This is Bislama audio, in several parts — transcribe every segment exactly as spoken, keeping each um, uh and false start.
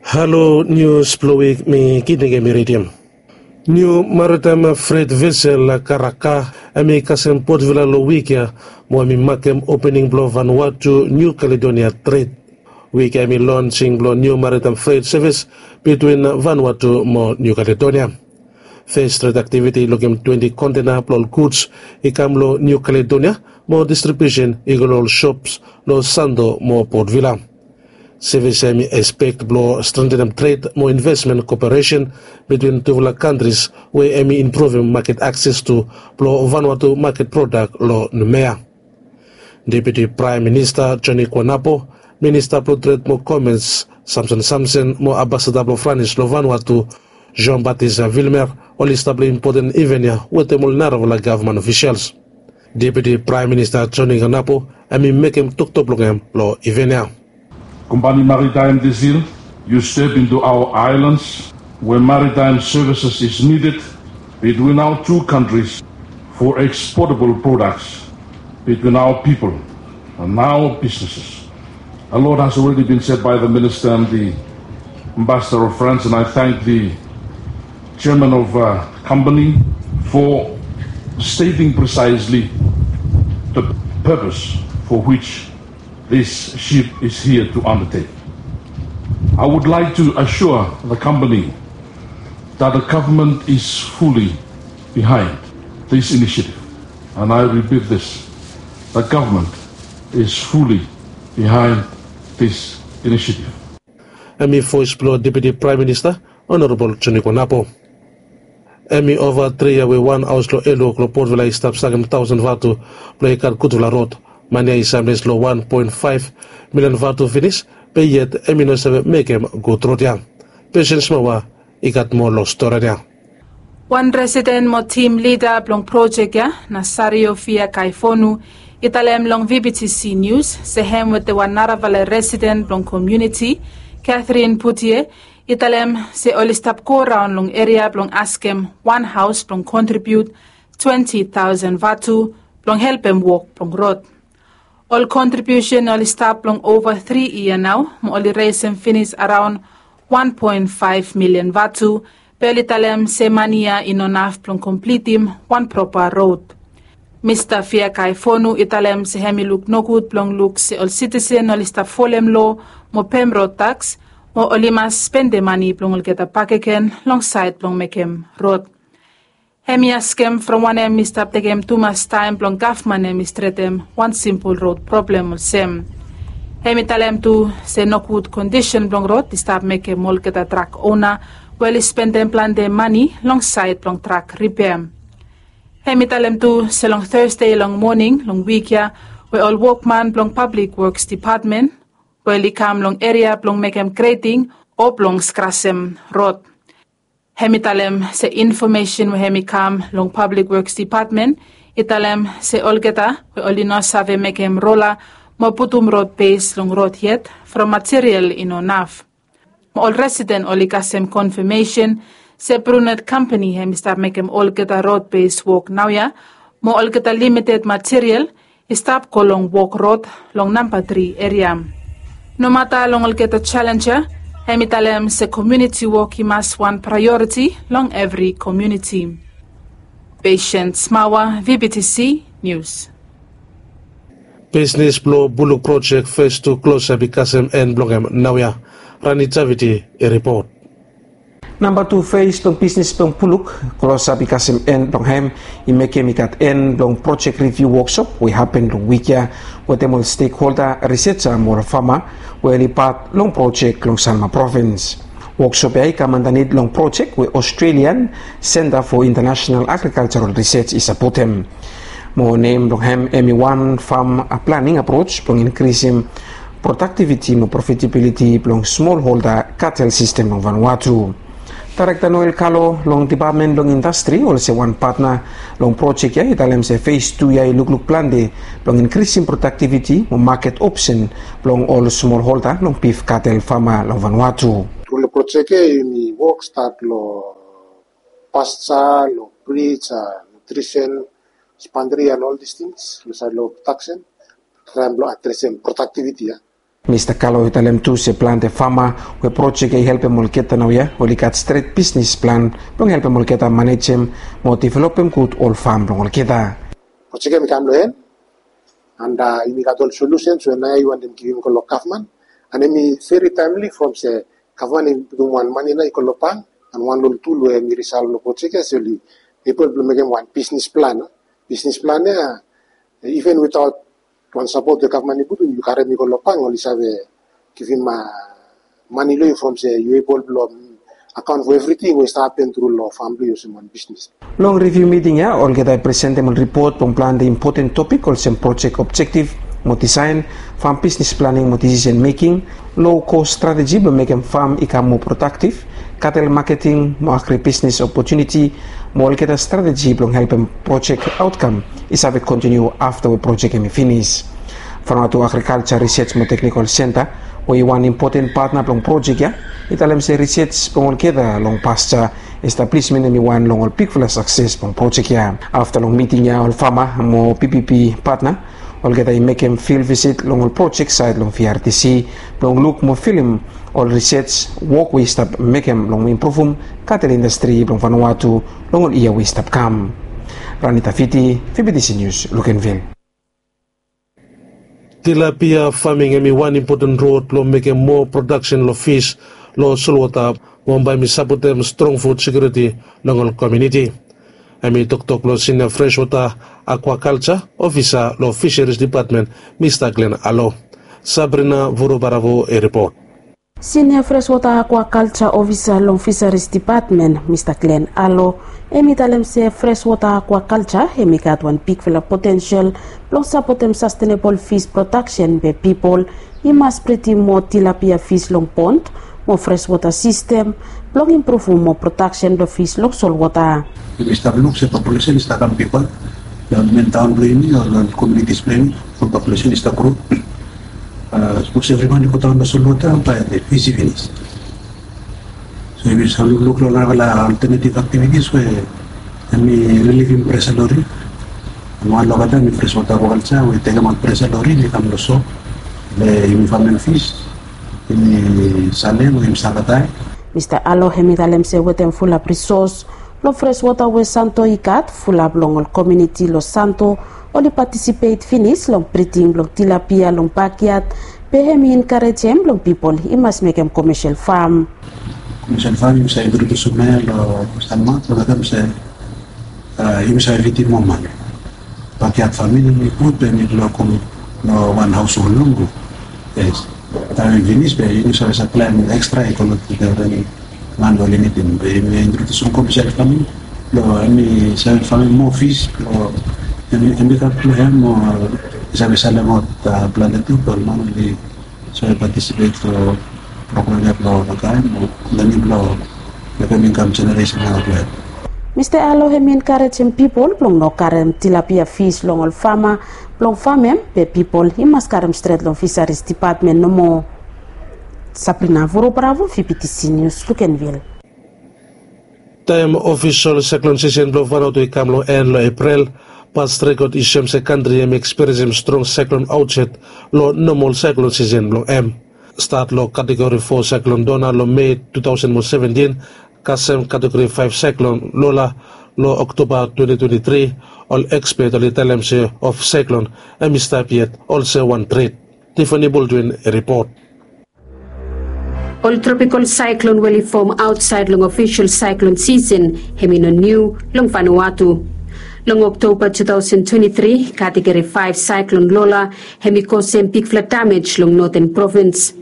Halo, nius blong wik mi Gideon Gemi ridim. Niu maritaem fret vesel Karaka hemi kasem Port Vila long wik ya mo hemi makem opening blong Vanuatu Niu Kaledonia tred. Wik ya hemi lonsing blong niu maritaem fret sevis bitwin Vanuatu mo Niu Kaledonia. Fes tred aktiviti i lukim twenti kontena blong ol guds i kam long Niu Kaledonia mo distribiusen i go long ol sops long Santo mo Port Vila. Sevis ya hemi ekspek blong strentenem tred mo invesmen koperesen bitwin tufala kantris we hemi impruvim maket akses tu blong Vanuatu maket prodak long Numea. Deputi Praem Minista Joni Kuanapo, Minista blong Tred mo Komens Samson Samson mo Ambasada blong Franis long Vanuatu Jean Baptiste Vilmer oli stap long impoten iven ya wetem ol narafala gavman ofisials. Deputi Praem Minista Joni Kuanapo hemi mekem toktok blong hem long iven ya. Compagnie Maritime des Îles, you step into our islands where maritime services is needed between our two countries for exportable products between our people and our businesses. A lot has already been said by the Minister and the Ambassador of France, and I thank the Chairman of uh, Company for stating precisely the purpose for which this ship is here to undertake. I would like to assure the company that the government is fully behind this initiative. And I repeat this, the government is fully behind this initiative. Hemi voes blong Deputi Praem Minista, Honorable Joni Kuanapo. Hemi ova tri yia we wan haos long Eluk long Port Vila i stap sakem taosen vatu blong i gat gudfala rod. Mani ya i samles long wan poen faef milian vatu finis, be yet hemi no save mekem gud rod ya. Pesen Smawa i gat moa long stori ya. Wan residen mo tim lida blong projek ya, Nasario Fia Kaifonu, i talem long V B T C News se hem wetem wan narafala residen blong komuniti, Catherine Putie, i talem se oli stap goraon long eria blong askem wan haos blong kontribiut twenti taosen vatu blong helpem wok blong rod. Ol kontribiusen oli stap long ova tri yia nao mo oli resem finis araon wan poen faef milian vatu, be oli talem se mani ya i no naf blong komplitim wan propa rod. Mista Fia Kaifonu i talem se hemi luk nogud blong luk se ol sitisen oli stap folem loa mo pem rod taks, mo oli mas spendem mani blong olgeta bakegen long saed blong mekem rod. Hemi askem from wanem i stap tekem tumas taem blong gavman hemi stretem wan simpol rod problem olsem. Hemi talem tu se nogud kondisen blong rod i stap mekem olgeta trak ona we oli spendem plante mani long saed blong trak ripea. Hemi talem tu se long Thursday long moning long wik ya, we ol wokman blong Public Works Department we oli kam long eria blong mekem greting o blong skrasem rod. Hemi talem se infomesen we hemi kam long Public Works Department i talem se olgeta we oli no save mekem rola mo putum rod bes long rod yet from material i no naf. Mo ol residen oli kasem konfamesen se Brunet Kompani hemi stap mekem olgeta rod bes wok naoia, mo olgeta limited material i stap go long wok rod long namba tri eria. Nomata long olgeta jalenj ya, hemi talem se komuniti wok i mas wan praeoriti long evri komuniti. Patient Smawa, V B T C News. Bisnis blong Buluk projek fes tu klosap i kasem en blong hem naoia. Rani Javiti i ripot. Namba tu fes blong bisnis blong Buluk klosap i kasem en blong hem i mekem i gat en blong projek riviu woksop we i hapen long wik ya wetem ol stekholda, risetsa mo ol fama we oli pat long projek long Sanma provins. Woksop ya i kam andanit long projek we Australian Centre for International Agricultural Research i sapotem. Mo nem blong hem hemi wan fam planing aproj blong inkrisim prodaktiviti mo profitabiliti blong smolholda katel sistem long Vanuatu. Daerekta Noel Kalo long Dipatmen blong Indastri olsem wan patna long projek ya i talem se fes tu ya i lukluk plante blong inkrisim prodaktiviti mo maket opsen blong ol smolholda long bif katel fama long Vanuatu. Tru long projek ya yumi wok stat long pasta, long brij, nutrisen, spandri and all these things long saed long prodaksen. Traem blong adresem prodaktiviti ya. Mista Kalo i talem tu se plante fama we projek ya i helpem olgeta naoia oli gat stret bisnis plan blong helpem olgeta manejem mo developem gud ol fam blong olgeta. Projek ya mi kam long en, and yumi gat ol solusens we naoia i wantem givim go long gavman, and yumi veri taemli from se gavman i putum wan mane naoia i go long bank, and wan long ol tul we mi risalv long projek ya se oli ebol blong mekem wan bisnis plan. Bisnis plan ya, even witaot wan sapot we gavman i putum, yu karem i go long bank, oli save givim mane long yu from se yu ebol blong akaon fo evriting we i stap hapen tru long fam blong yu olsem wan bisnis. Long riviu miting ya olgeta i presentem ol ripot blong plante impoten topik olsem projek objektif mo disaen, fam bisnis planing mo disisen meking, low kos strateji blong mekem fam i kam moa prodaktif, katel maketing mo agri bisnis opotuniti, mo olgeta strateji blong helpem projek aotkam i save kontiniu afta we projek hem i finis. Vanuatu Agrikalja Risej mo Teknikol Senta we i wan impoten patna blong projek ya i talem se risej blong olgeta long paja establismen hem i wan long ol bigfala sakses blong projek ya. Afta long miting ya ol fama mo B B B patna olgeta i mekem fil visit long ol projek saed long V R D C blong luk mo filim ol risej wok we i stap mekem long impruvum katel indastri blong Vanuatu long ol yia we i stap kam. Ranita Fiti, V B T C Nius, Lukenvil. Tilapia faming hem i wan impoten rod blong mekem moa prodaksen long fis long solwota mo bae hem i sapotem strong fud sekiuriti long ol komuniti. Hem i toktok blong sinia freswota akwakalja ofisa long Fiseris Dipatmen, Mista Glen Alo. Sabrina Vurubaravo i ripot. Sinia freswota akwakalja ofisa long Fiseris Dipatmen, Mista Glen Alo, hem i talem se freswota akwakalja hem i gat wan bigfala potensel blong sapotem sastenebol fis prodaksen be pipol i mas bridim moa tilapia fis long pond mo freswota sistem blong impruvum moa prodaksen blong fis long solwota. Yumi stap luk se populesen i stap kam bigwan long men taon blong yumi o long komunitis blong yumi, from populesen i stap gro. Sapos evriwan i go daon long solwota bae fis i finis. So yumi save lukluk long narafala oltenetiv aktivitis we hem i rilivim presa long ri. Wan long olgeta hem i freswota akwakalja we i tekem ol presa long ri i kam long so, we yumi famem fis, yumi salem o yumi save dae. Mista Alo hem i talem se wetem fulap risos long freswota we Santo i gat, fulap long ol komuniti long Santo oli patisipet finis long briding blong tilapia long bakyat, be hem i enkarejem blong pipol i mas mekem komesel fam. Komesel fam yumi save introdusim ya long Sanma, long wetem se yumi save fidim moa man. Bakyat faming hem i gud, be hem i long kom long wan haoshol nomo. Yes. Taem hem i finis be yumi save saplaem ekstra i go long man we oli nidim. Be yumi introdusim komesel faming blong hem i save famem moa fis, blong hem i gat blong hem o i save salemaot plante tu blong ol man oli save patisipet long program ya blong olgeta taem o lenim blong mekem inkam jeneresen ya blong hem. Mista Alo hem i enkarejem pipol blong no karem tilapia fis long ol fama blong famem, be pipol i mas karem stret long Fiseris Dipatmen nomo. Sabrina Vurubaravo, V B T C Nius, Lukenvil. Taem ofisol saiklon sisen blong Vanuatu i kam long en long Epril, past rekod i soem se kantri hem i ekspiriensim strong saiklon aotset long nomol saiklon sisen blong hem. Stat long kategori fo saiklon Dona long Mei tu taosen mo seventin, kasem kategori faef saiklon Lola long Oktoba twenti twenti tri, ol ekspet oli talem se of saiklon hem i stap yet olsem wan tret. Tiffany Baldwin i ripot. Ol tropikol saiklon we oli fom aotsaed long ofisol saiklon sisen hem i no niu long Vanuatu. Long Oktoba tu taosen twenti tri, kategori faef saiklon Lola hem i kosem bigfala damej long Noten Provins.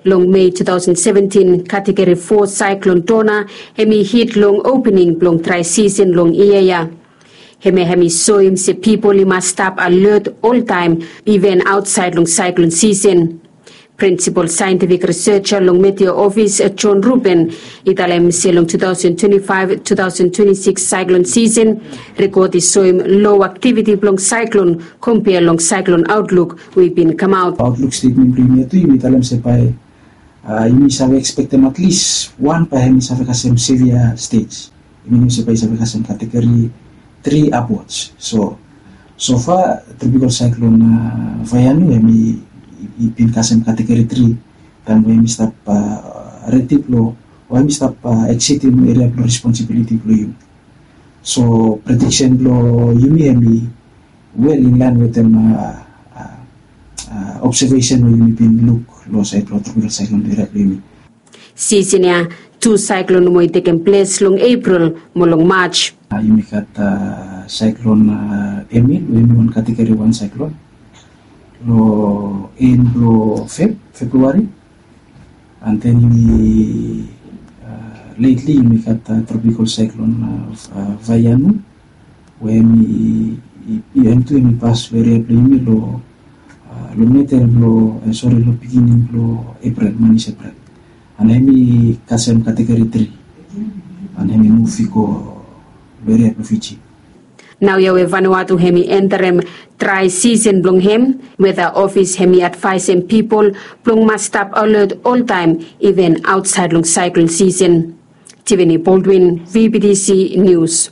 Long Mei tu taosen seventin, kategori fo saiklon Dona hem i hit long opening blong drae sisen long yia ya. Hemia hem i soem se pipol i mas stap alot oltaem, iven aotsaed long saiklon sisen. Prinsipol saentifik riseja long Meteo Ofis, John Rubin, i talem se long tu taosen twenti faef tu taosen twenti sikis saiklon sisen rekod i soem lo aktiviti blong saiklon kompea long saiklon aotluk we i bin kamaot. Aotluk stetmen blong yumi ya tu yumi talem se bae yumi save ekspektem atlis wan bae hem i save kasem sevia stej. Yumi no se bae i save kasem kategori tri apwods. So, so fa tropikol saiklon Vaianu hem i i bin kasem kategori tri taem we yumi stap redi blong, o yumi stap eksidim eria blong responsibiliti blong yumi. So prediksen blong yumi hem i wel inlaen wetem obsevesen we yumi bin luk long saed blong tropikal saeklon eria blong yumi. Sisen ya, tu saeklon nomo i tekem ples long Epril mo long Maj. Yumi gat saeklon Emil we hem i wan kategori wan saeklon long en blong Feb, Februari. And then yumi letli yumi gat tropikal saeklon Vaianu we hem i, hem tu hem i pas long eria blong yumi long, long medel blong, sori, long biginin blong Epril, manis Epril. And hem i kasem kategori tri. And hem i muv i go long eria blong Fiji. Naoia we Vanuatu hem i enterem drae sisen blong hem, weta ofis hem i advaesem pipol blong mas stap alet oltaem, iven aotsaed long saeklon sisen. Tiffany Baldwin, V B T C Nius.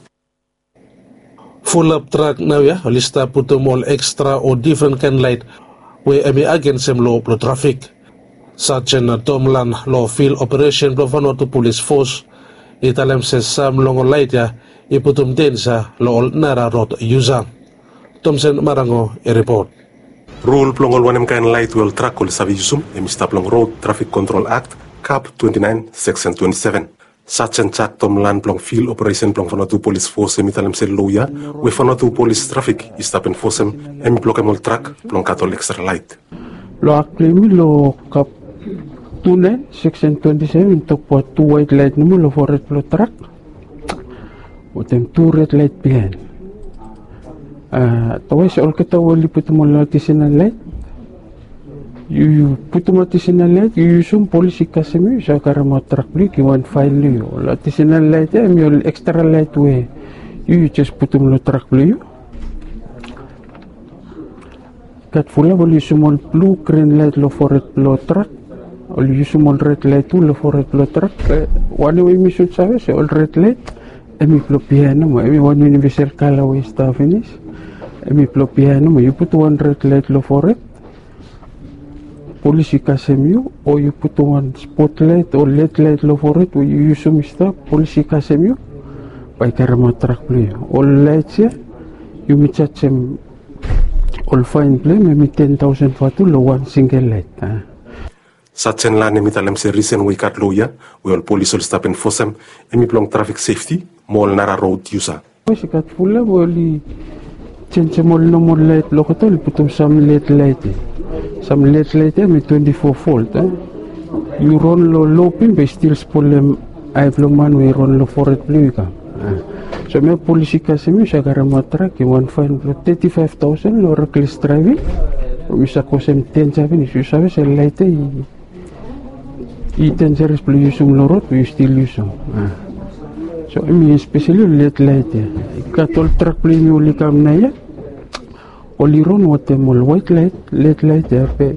Fulap trak naoia oli stap putum ol ekstra o difren kaen laet we hem i agensem loa blong trafik. Sajen Tom Lan long Fil Operesen blong Vanuatu Polis Fos i talem se sam long ol laet ya i putum denja long ol nara rod yusa. Tomsen Marango i ripot. Rul blong ol wanem kaen laet we ol trak oli save yusum hem i stap long Rod Trafik Kontrol Akt, kap twenti naen, seksen twenti seven. Sajen Jak Tom Lan blong Fil Operesen blong Vanuatu Polis Fos hem i talem se loa ya we Vanuatu Polis Trafik i stap enfosem hem i blokem ol trak blong gat ol ekstra laet. Long akt blong yumi long kap tu naen, seksen twenti seven, i tokbaot tu waet laet nomo long fored blong trak wetem tu red laet biaen. Otherwise olgeta we oli putum ol adisenal laet, yu, yu putum adisenal laet, yu yusum, polis i kasem yu, yu save karemaot trak blong yu, i givim wan faen long yu. Ol adisenal laet ya hem i ol ekstra laet we yu, yu jes putum long trak blong yu. Gat fulap oli yusum ol blu, grin laet long fored blong trak. Oli yusum ol red laet tu long fored blong trak. Be wanem we yumi sud save se ol red laet hem i blong biaen nomo, hem i wan yunivesal kala we i stap finis. Hem i blong biaen nomo. Yu putum wan red laet long fored, polis i kasem yu, o yu putum wan spot laet o led laet long fored we yu yusum i stap, polis i kasem yu, bae i karemaot trak blong yu. Ol laet ya yumi jajem ol faen blong hem hem i ten taosen vatu long wan singel laet. Sajen Lan hem i talem se risen we i gat loa ya we ol polis oli stap enfosem hem i blong trafik sefti mo ol nara rod yusa. Yes, i gat fulap we oli jenjem ol nomol laet blong olgeta, oli putum sam led laet ya. Sam led laet ya hem i twenti fo volt. Yu ron long lo bim be i stil spolem ae blong man we i ron long fored blong yu i kam. So hemia polis i kasem yu, yu save karemaot trak, i givim wan faen blong teti faef taosen long rekles draeving. From yu save kosem denja finis, yu save se laet ya i, i denjares blong yusum long rod be yu stil yusum. So hem i espeseli ol led laet ya. I gat ol trak blong yumi oli kam naoia, oli ron wetem ol waet laet, led laet ya, be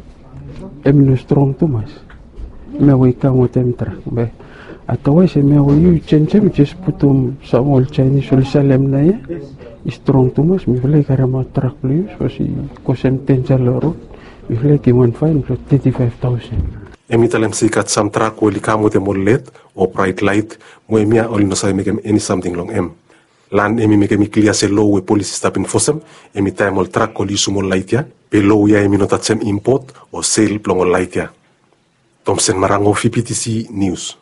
hem i no strong tumas. Hemia we i kam wetem trak. Be otherwise hemia we yu jenjem, jes putum sam ol Jaenis oli salem naoia, i strong tumas, mifala i karemaot trak blong yu sapos i kosem denja long rod. Mifala i givim wan faen blong teti faef taosen. Hem i talem se i gat sam trak we oli kam wetem ol led o braet laet, mo hemia oli no save mekem eni samting long hem. Lan hem i mekem i klia se loa we polis i stap enfosem hem i taem ol trak oli yusum ol laet ya, be loa ya hem i no tajem impot o sel blong ol laet ya. Tomsen Marango, V B T C Nius.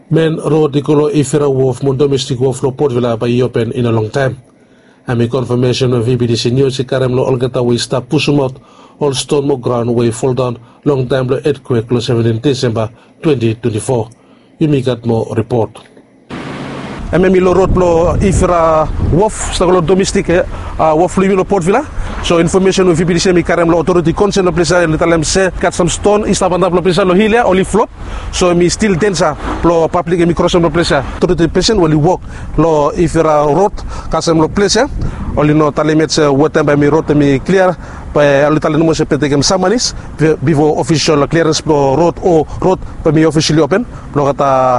Men rod i go long Ifira Wof mo domestik wof long Port Vila bae i open i no longtaem. Hemi konfamesen we V B T C Nius i karem long olgeta we i stap pusumaot ol ston mo graon we i foldaon long taem blong etkwek long seventeenth Desemba twenty twenty-four. Yumi gat moa ripot. Hemia hemi long rod blong Ifira Wof, stap go long domestik wof blong yumi long Port Vila. So infomesen we V B T C hemi karem long otoriti konsen long ples ya, oli talem se gat sam ston i stap antap long ples ya long hil ya, oli flop. So hemi stil denja blong pablik hemi krosem long ples ya. Otoriti pesen we oli wok long Ifira rod kasem long ples ya, oli no talem yet se wetaem bae hemi rod hemi klia. Bae oli talem nomo se bae tekem sam manis bifo ofisol kliarens blong rod o rod bae hemi ofisali open blong olgeta